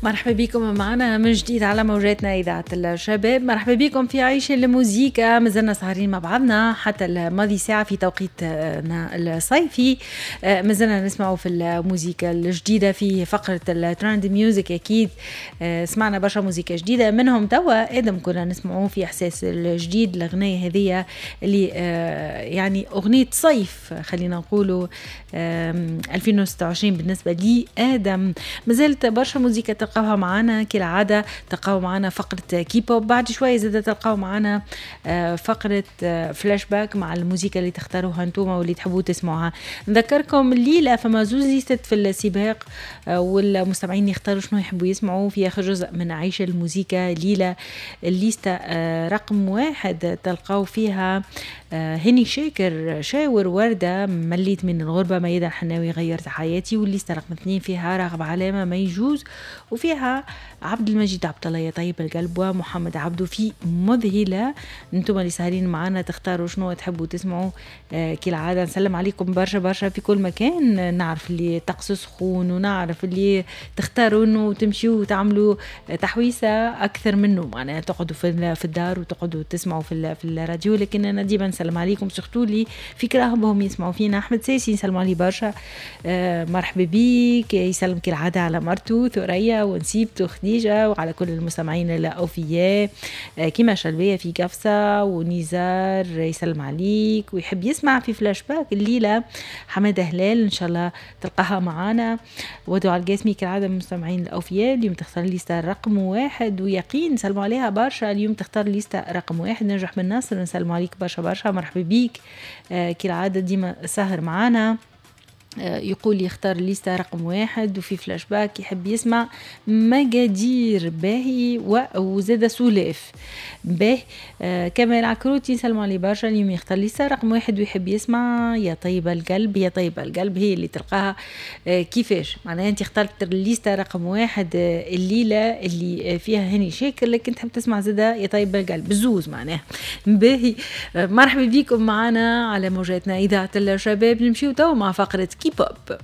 مرحبا بكم معنا من جديد على موجاتنا إذاعة الشباب. مرحبا بكم في عيش الموزيكا. مازلنا سهرين مع بعضنا حتى الماضي ساعة في توقيتنا الصيفي. مازلنا نسمعوا في الموزيكا الجديدة في فقرة ال trend music. أكيد سمعنا برشا موزيكا جديدة، منهم توا آدم كنا نسمعوه في إحساس الجديد، الأغنية هذية اللي يعني أغنية صيف خلينا نقولوا 2026 بالنسبة لي آدم. مازالت برشا موزيكا تلقاوها معانا كالعادة، تلقاو معانا فقرة كيبوب بعد شوية، زادة تلقاو معانا فقرة فلاش باك مع الموزيكا اللي تختاروها انتوما واللي تحبوا تسمعوها. نذكركم الليلة فما زوز ليستات في السباق، والمستمعين يختاروا شنو يحبوا يسمعوا في آخر جزء من عيش الموزيكا. ليلة الليستة رقم 1 تلقاو فيها هني شاكر شاور وردة مليت من الغربة، ميادة الحناوي غيرت حياتي. والليستة رقم 2 فيها راغب علامة ما يجوز، وفيها عبد المجيد عبد الله يا طيب القلب، ومحمد عبدو في مذهلة. انتم اللي سهرين معنا تختاروا شنو تحبوا تسمعوا. كالعادة نسلم عليكم برشا برشا في كل مكان. نعرف اللي طقس سخون ونعرف اللي تختاروا انه تمشيوا وتعملوا تحويسة اكثر منه، معناها تقعدوا في الدار وتقعدوا تسمعوا في الراديو، لكن انا ديما نسلم عليكم surtout اللي في كراهبهم يسمعوا فينا. احمد ساسي نسلم عليه برشا، مرحبا بيك. يسلم كالعادة على مرته ثريا ونسيبته خديجة وعلى كل المستمعين الأوفياء، كيما شلبية في قفصة ونزار يسلم عليك ويحب يسمع في فلاش باك الليلة. حمادة هلال إن شاء الله تلقاها معانا. ودعاء القاسمي كالعادة من المستمعين الأوفياء، اليوم تختار ليستا رقم 1. ويقين نسلموا عليها برشا، اليوم تختار ليستا رقم 1. نجح بن ناصر نسلموا عليك برشا برشا، مرحبا بيك. كالعادة ديما سهر معانا. يقول يختار ليستا رقم 1 وفي فلاش باك يحب يسمع مقادير باهي وزاد سولاف باهي. كمال عكروتي نسلموا عليه برشا، اليوم يختار ليستا رقم 1 ويحب يسمع يا طيب القلب. يا طيب القلب هي اللي تلقاها. كيفاش معناها انت اخترت الليستا رقم 1 الليلة اللي فيها هاني شاكر، لكن تحب تسمع زادة يا طيب القلب بزوز معناها باهي. مرحبا بكم معنا على موجاتنا إذاعة الشباب. نمشيو تو مع فقرة كيبوب.